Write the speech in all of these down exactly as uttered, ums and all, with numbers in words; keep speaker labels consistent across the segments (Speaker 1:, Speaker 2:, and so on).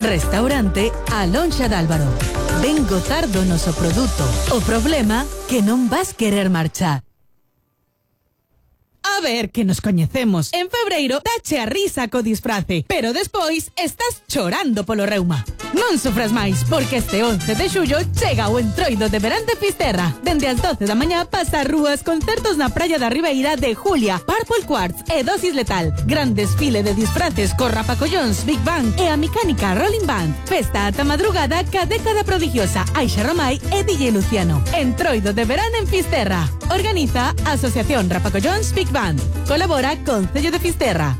Speaker 1: Restaurante A Lonxa de Álvaro. Ven gozar do noso produto. O problema que non vas querer marchar. A ver, que nos coñecemos. En febreiro dache a risa co disfrace, pero despois estás chorando polo reuma. Non sufras máis, porque este once de xullo chega o entroido de verán de Fisterra. Dende as doce da mañá pasa rúas concertos na praia da Ribeira de Julia, Purple Quartz e Dosis Letal. Gran desfile de disfraces co Rapacollóns, Big Bang e a mecánica Rolling Band. Festa ata madrugada ca década prodigiosa Aixa Romai e D J Luciano. Entroido de verán en Fisterra. Organiza Asociación Rapacollóns Big Band. Colabora Concello de Fisterra.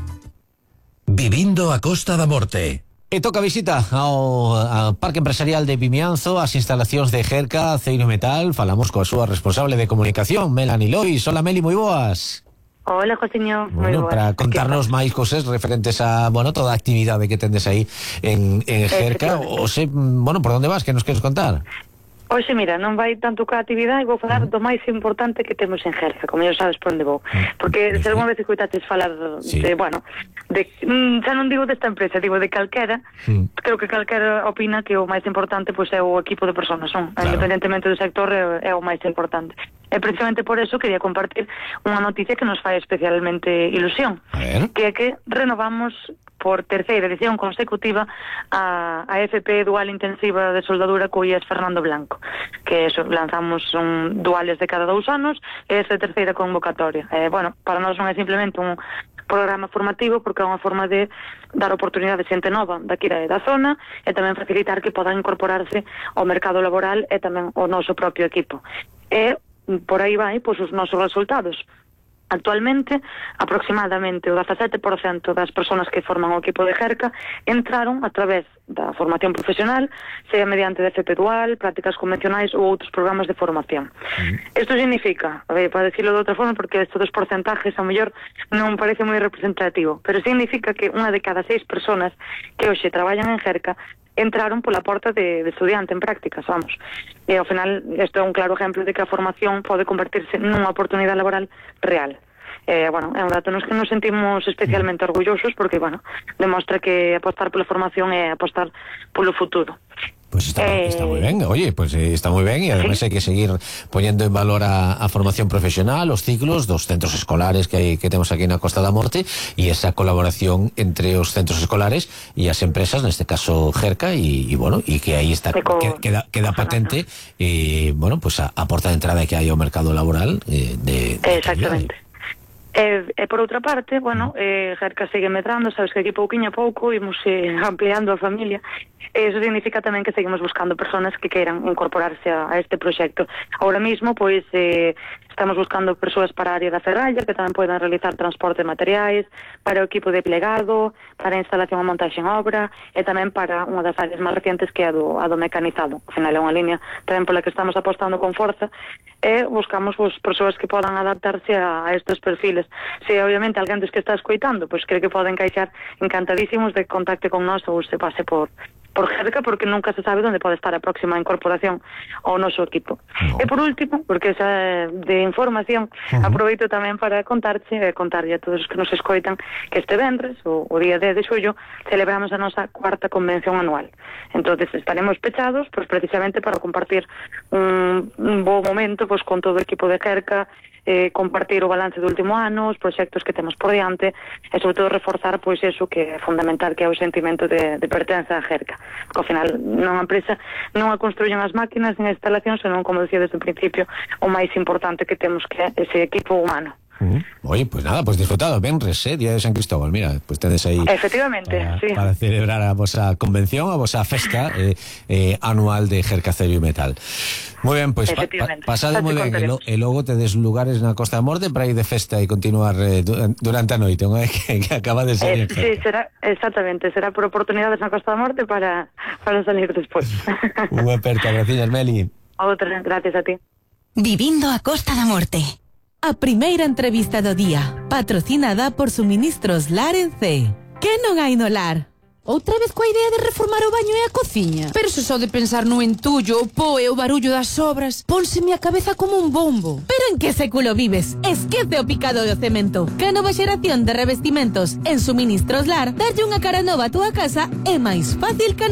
Speaker 2: Vivindo a Costa da Morte.
Speaker 3: E toca visita ao, ao Parque Empresarial de Vimianzo, as instalacións de Gerca Aceiro Metal. Falamos coa súa responsable de comunicación, Melanie Lois. Hola, Meli, moi boas.
Speaker 4: Hola, Josiño, moi
Speaker 3: bueno,
Speaker 4: boas.
Speaker 3: Para contarnos máis cosas referentes a, bueno, toda a actividade que tendes aí en, en Gerca. O se, bueno, por onde vas, que nos queres contar?
Speaker 4: Oxe, mira, non vai tanto ca actividade, vou falar do máis importante que temos en Gerca, como xa sabes por onde vou. Porque se algunha vez escoitaches falar
Speaker 3: sí.
Speaker 4: de, bueno, de, mm, xa non digo desta empresa, digo de calquera, sí. Creo que calquera opina que o máis importante pois, é o equipo de personas, non? Claro. Independentemente do sector, é, é o máis importante. E precisamente por eso quería compartir unha noticia que nos fai especialmente ilusión, que é que renovamos por terceira edición consecutiva a, a F P Dual Intensiva de Soldadura co I E S Fernando Blanco, que eso, lanzamos un duales de cada dous anos e esta terceira convocatoria. Eh, bueno, para nós non é simplemente un programa formativo porque é unha forma de dar oportunidade a xente nova daqui da zona e tamén facilitar que podan incorporarse ao mercado laboral e tamén ao noso propio equipo. E por aí vai, pois, os nosos resultados. Actualmente, aproximadamente o dezasete por cento das persoas que forman o equipo de Gerca entraron a través da formación profesional, sea mediante de F P Dual, prácticas convencionais ou outros programas de formación. Isto mm. significa, a ver, para decirlo de outra forma, porque estes dos porcentajes a mellor non parece moi representativo, pero significa que unha de cada seis persoas que hoxe traballan en Gerca entraron pola porta de, de estudiante en prácticas, vamos. E ao final, isto é un claro exemplo de que a formación pode convertirse nunha oportunidade laboral real. Eh, bueno, é un dato nos que nos sentimos especialmente orgullosos porque, bueno, demostra que apostar pola formación é apostar polo futuro.
Speaker 3: Pues está, eh, está moi ben, oye, pues eh, está moi ben e además ¿sí? Hai que seguir poñendo en valor a, a formación profesional, os ciclos dos centros escolares que hai, que temos aquí na Costa da Morte e esa colaboración entre os centros escolares e as empresas, neste caso Gerca e, e bueno, e que aí está, co, que, queda, queda patente e, bueno, pues a, a porta de entrada que hai ao mercado laboral eh, de, de
Speaker 4: exactamente. E, e por outra parte, bueno, eh, Gerca segue medrando, sabes que aquí pouquiño a pouco imos eh, ampliando a familia. Eso significa tamén que seguimos buscando personas que queiran incorporarse a, a este proxecto. Ahora mismo, pois, eh, estamos buscando persoas para a área da ferralla que tamén podan realizar transporte de materiais, para o equipo de plegado, para a instalación e montaxe en obra e tamén para unha das áreas máis recientes que é a do, a do mecanizado. Ao final é unha línea tamén pola que estamos apostando con forza e buscamos pues, persoas que podan adaptarse a, a estes perfiles. Se obviamente alguén dos que está escoitando pois, cree que poden encaixar, encantadísimos de contacte con nós ou se pase por por Gerca, porque nunca se sabe onde pode estar a próxima incorporación ao noso equipo. No. E por último, porque esa de información, uh-huh. aproveito tamén para contarte e contarlle a todos os que nos escoitan que este vendres, o, o día dez de xullo, celebramos a nosa cuarta convención anual. Entonces estaremos pechados pues, precisamente para compartir un, un bo momento pues, con todo o equipo de Gerca, eh, compartir o balance do último ano, os proxectos que temos por diante e sobre todo reforzar pois eso que é fundamental, que é o sentimento de, de pertenza a Gerca, porque ao final non a empresa non a construyen as máquinas nin as instalacións, senón, como decía desde o principio, o máis importante que temos que é ese equipo humano.
Speaker 3: Uh-huh. Oye, pues nada, pues disfrutado, Benres, eh, Día de San Cristóbal, mira, pues tedes aí
Speaker 4: efectivamente,
Speaker 3: para,
Speaker 4: sí.
Speaker 3: para celebrar a vosa convención, a vosa festa eh, eh, anual de Gerca Aceiro Metal. Moi ben, pois pues, pa, pa, pasade moi ben e, lo, e logo tedes lugares na Costa da Morte para ir de festa e continuar eh, durante a noite, non é que, que acaba de ser
Speaker 4: eh, sí, será, exactamente, será por oportunidades na Costa da Morte para, para salir despois.
Speaker 3: Unha aperta, gracias, Meli.
Speaker 4: Outra, gracias a ti.
Speaker 1: Vivindo a Costa da Morte. A primeira entrevista do día, patrocinada por Suministros Lar en C. Que non hai no lar?
Speaker 5: outra vez coa idea de reformar o baño e a cociña. Pero se só de pensar no entullo, o po e o barullo das obras, pónseme a cabeza como un bombo.
Speaker 1: Pero en que século vives? Esquece o picado do cemento. Que a nova xeración de revestimentos en suministros Lar darlle unha cara nova a túa casa é máis fácil que nunca.